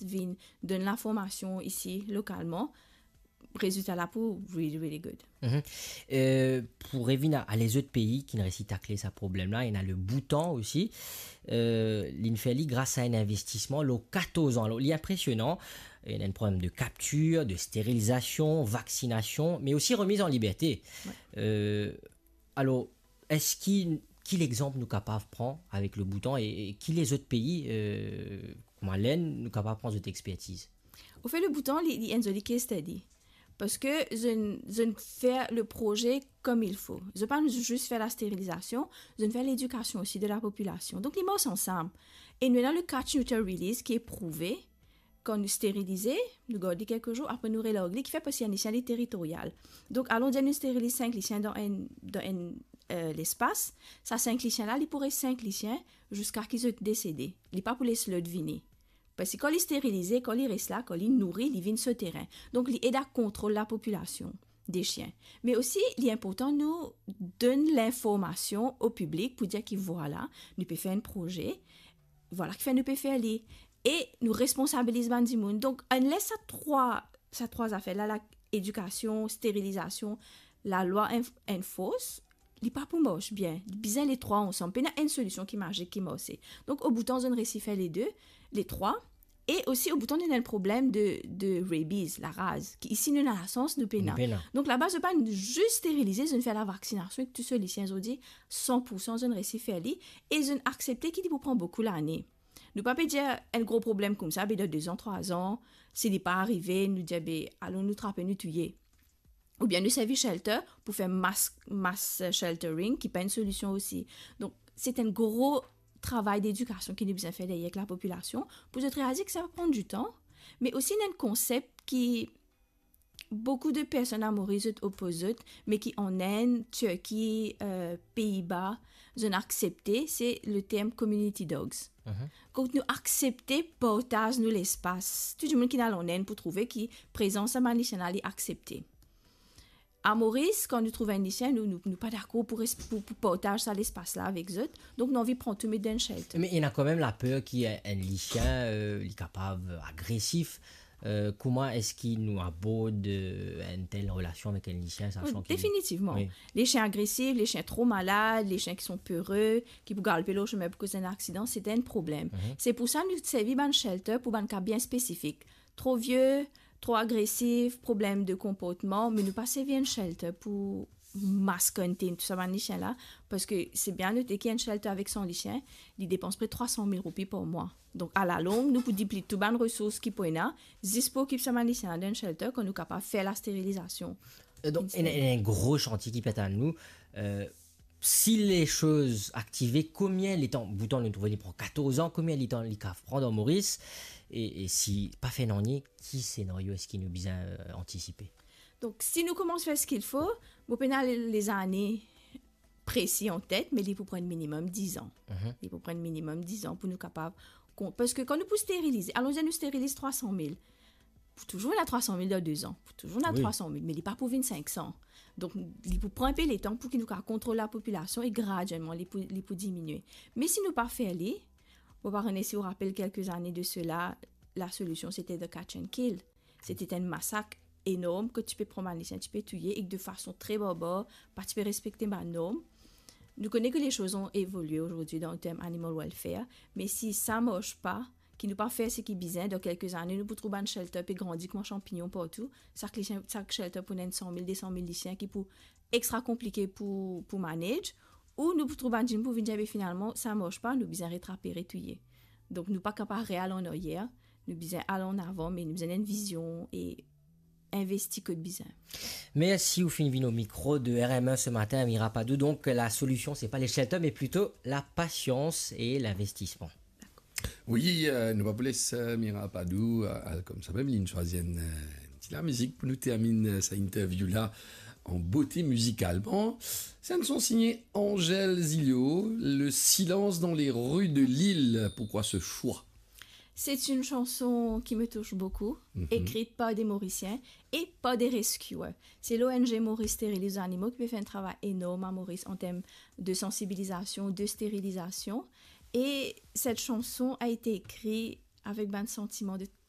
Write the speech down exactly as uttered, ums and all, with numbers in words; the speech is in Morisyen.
vinn donn linformasion isi lokalman, rezilta la pou really, really good. Mhm. Euh, pou revinn a, a lezot pei ki inn resi takle sa problem la, ena le Bhoutan osi. Euh, linn fer li gras a enn investisman lor katorz an. Alor, li inpresionan. Ena enn problem de kaptir, de sterilizasion, vaksinasion, me osi remiz an liberte. Ouais. Euh, alor, eski, ki lexanp nou kapav pran avek le Bhoutan e, e ki lezot pei, euh, kouma Lenn, nou kapav pran zot expertiz? Anfet, le Bhoutan, li, li enn zoli case study. Parski zot inn, zot inn fer le proze comme il faut. Zot pa zis fer la sterilizasion, zot inn fer ledikasion osi de la popilasion. Donk, li mars ansam. E nou ena le catch neuter release ki eprouve, kan nou sterilize, nou gard li kelke zour, apre nou relarg li, ki fer parski enn lisien li teritorial. Donk, alon dir nou steriliz sink lisien dan enn, dan enn, euh, lespas, sa sink lisien la, li pou res sink lisien ziska ki zot desede. Li pa pou les lot vini. Parski kan li sterilize, kan li res la, kan li nouri, li vinn so teren. Donk, li ed a kontrol lapopilasion de sien. Me osi, li inportan nou donn linformasion o piblik pou dir ki vwala, nou pe fer enn proze, vwala kifer nou pe fer li. E nou responsabiliz bann dimoun. Donk, unless sa trwa, sa trwa zafer la, la, edikasion, sterilizasion, lalwa enf-, enforce, li pa pou mars bien. Li bizin le trwa ansam. Pena enn solision ki mazik, ki marse. Donk, o Bhoutan, zot inn resi fer le de, le trwa. E osi, o Bhoutan, nou ena enn problem de, de rabies, laraz, ki isi, nou ena lasans, nou pena. Nou pena. Donk, laba, zot pa zis sterilize, zot inn fer lavaksinasion ek tou so lisien, zordi, san pou san, zot inn resi fer li, e zot inn aksepte ki li pou pran boukou lane. Nou pa pe dir enn gro problem koumsa, be dan de zan, trwa zan, si li pa arive, nou dir, be, alon nou trape, nou touye. Oubien nou servi shelter pou fer mass, mass sheltering, ki pa enn solision osi. Donk, se enn gro travay dedikasion ki nou bizin fer deryer ek lapopilasion, pou zot realize ki sa va pran ditan, me osi ena enn konsep ki boukou de personn a Moris zot opoz zot, me ki an Inn, Tirki, euh, Pei Ba, zot inn aksepte, se le term community dogs. Mhm. Kot nou aksepte partaz nou lespas. Tou dimoun ki al an Inn pou trouve ki prezans sa bann lisien la, li aksepte. A Moris, kan nou trouv enn lisien, nou, nou, nou pa dakor pou res-, pou, pou partaz sa lespas la avek zot. Donk, nou anvi pran tou met dan enn shelter. Me ena kanmem laper ki enn, enn lisien, euh, li kapav agresif. Euh, kouma eski nou abord, euh, enn tel relasion avek enn lisien, sasan ki... Definitivman. Wi. Lisien agresif, lisien tro malad, lisien ki son pere, ki pou galpe lor sime pou koz enn aksidan, se enn problem. Mhm. Se pou sa nou servi bann shelter pou bann ka bien spesifik. Tro vie, tro agresif, problem de konportman, me nou pa servi enn shelter pou mass contain tou sa bann lisien la, parski se bien note ki enn shelter avek san lisien, li depans pre trwa san mil roupi par mwa. Donk, alalong, nou pou dipli tou bann resours ki pou ena, zis pou okip sa bann lisien la dan enn shelter, kan nou kapav fer la sterilizasion. Euh, donk, enn, enn gro santie ki pe atann nou, euh, si le soz aktive, konbien letan, Bhoutan nou trouve li pran katorz an, konbien letan li kapav pran dan Moris, e, e si pa fer nanye, ki senario eski nou bizin, euh, antisipe? Donk, si nou koumans fer ce qu'il faut, mo pena le, lezane presi an tet, me li pou pran minimem diz an. Mhm. Li pou pran minimem diz an pou nou kapav kon-, parski kan nou pou sterilize, alon dir nou steriliz trwa san mil, pou touzour ena trwa san mil dan de zan, pou touzour ena... Wi. Trwa san mil, me li pa pou vinn sink san. Donk, li pou pran enpe letan pou ki nou kapav kontrol lapopilasion e gradielman, li pou, li pou diminie. Me si nou pa fer li, mo pa kone si ou rapel kelke zane de sela, la solision, se te the catch and kill. Se te enn masak enorm, kot ti pe pran bann lisien, ti pe touye, e de fason tre barbar, pa ti pe respekte bann norm. Nou kone ki le soz ont evolie azordi dan le term animal welfare, me si sa mars pa, ki nou pa fer seki bizin, dan kelke zane, nou pou trouv bann shelter pe grandi kouma sanpignon partou, sak lisien, sak shelter pou ena enn san mil, de san mil lisien ki pou extra konplike pou, pou manage, ou nou pou trouv bann dimoun pou vinn dir, be finalman, sa mars pa, nou bizin retrape, retouye. Donk, nou pa kapav real an aryer, nou bizin al an avan, me nou bizin enn vizion e investi kot bizin. Mersi, ou finn vinn o mikro de R M un ce matin, Mira Padou. Donk, la solision, se pa le shelter, me plito la pasians e linvestisman. Dakor. Wi, euh, nou pa pou les, euh, Mira Padou, euh, al koumsa mem, li swazir enn, euh, ti lamizik pou nou terminn, euh, sa interview la an bote mizikalman. Se enn son signe Angèle Zilio, Le silence dans les rues de Lille. Pourquoi ce choix ? C'est une chanson qui me touche beaucoup, mhm, écrite par des Mauriciens et par des rescuers. C'est l'O N G Maurice Stériliser les Animaux ki pe fer enn travay enorm a Moris an term de sansibilizasion, de sterilizasion. Et cette chanson a été écrite avec bann santiman de